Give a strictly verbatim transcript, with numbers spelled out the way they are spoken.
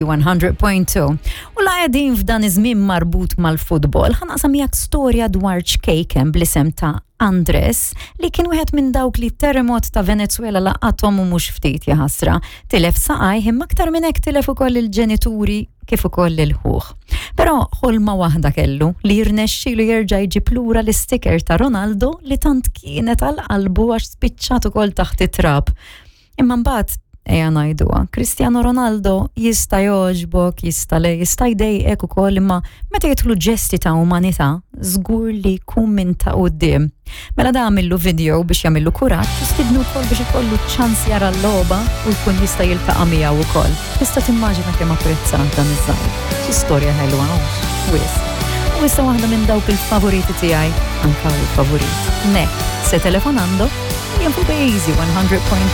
one hundred point two. U la qegħdin f'dan iż-żmien marbut mal-futbol, ħa naqsam miegħek storja dwar ċkejken bl-isem ta' Andres li kien wieħed minn dawk li terremot ta' Venezuela laqathom u mhux ftit jaħasra. Tilef saqajh imma aktar minn hekk tilef ukoll il-ġenituri kif ukoll il-ħuħ. Però ħolma waħda kellu li jirnexxielu jerġa' jġib lura l-isticker ta' Ronaldo li tant kienet għal qalbu għax spiċċat ukoll taħt it-trab. Imma mbagħad ejja ngħiduha, Cristiano Ronaldo jista' jogħġbok, jista' le, jista' jdejqek ukoll, imma meta jidħlu ġesti ta' umanità, żgur li jkun minn ta' quddiem. Mela da għamillu video biex jagħmillu kuraġġ u stidnu wkoll biex ikollu ċans jara l-logħba u jkun jista' jiltaqa' miegħu wkoll. Tista' timmaġina kemm apprezzat dan iż-żgħir. Xi storja ħelwa hawnx, wisq. U issa waħda minn dawk il-favoriti tiegħi, anka l-favorit. Ne, se telefonando, jien fuq Easy one hundred point